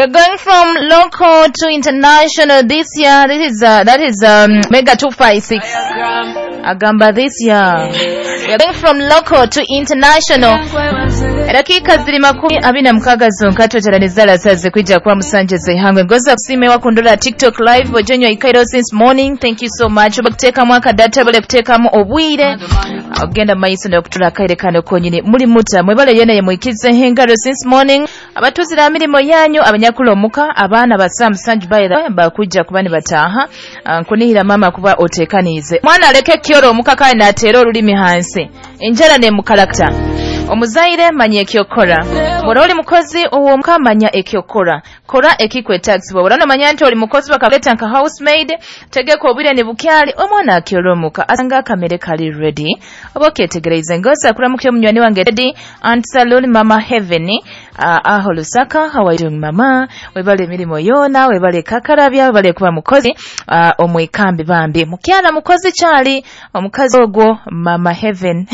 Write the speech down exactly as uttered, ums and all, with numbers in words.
We're going from local to international this year. This is uh, that is um, Mega two five six. Agamba this year. We're going from local to international. Edakika ziri makumi abiri na mukaaga zonka tweteraniza lasaze kwijja kuba musanje zeihangwe ngoza kusime wakundula TikTok live ojenywa ikairo since morning. Thank you so much. Oba akadata bale kuteekamu obwire ogenda maiso n'okutula akaire kano konyini muli muta mwebale yena yemwikize hengaro since morning abatuzira mirimo yanyu abanyakula omuka abaana ba musanju by bakujja kuba nibataaha. Nkunihira mama kuba otekaniize mwana aleke kyoro omuka kale n'ateera olulimi hansi enjala nemukalakta. Omuzaire manya ekyokora, bw'oba oli mukozi ow'omuka manya ekyokora, kora ekikwetagisibwa. Bw'oba nomanya nti oli mukozi bakakuleta nka housemaid, tegeka obwire nibukyali omwana akyora omuka asanga akamere kali ready oba okyetegereize. Ngoza kuramukya omunywani wange Teddy Aunt Saloon Mama Heaven uh, aho Lusaka. How are you doing mama? Webale emirimu yoona, webale kakarabya, webale kuba mukozi uh, omwekambi bambi mukyala mukozi kyali omukazi ogwo Mama Heaven.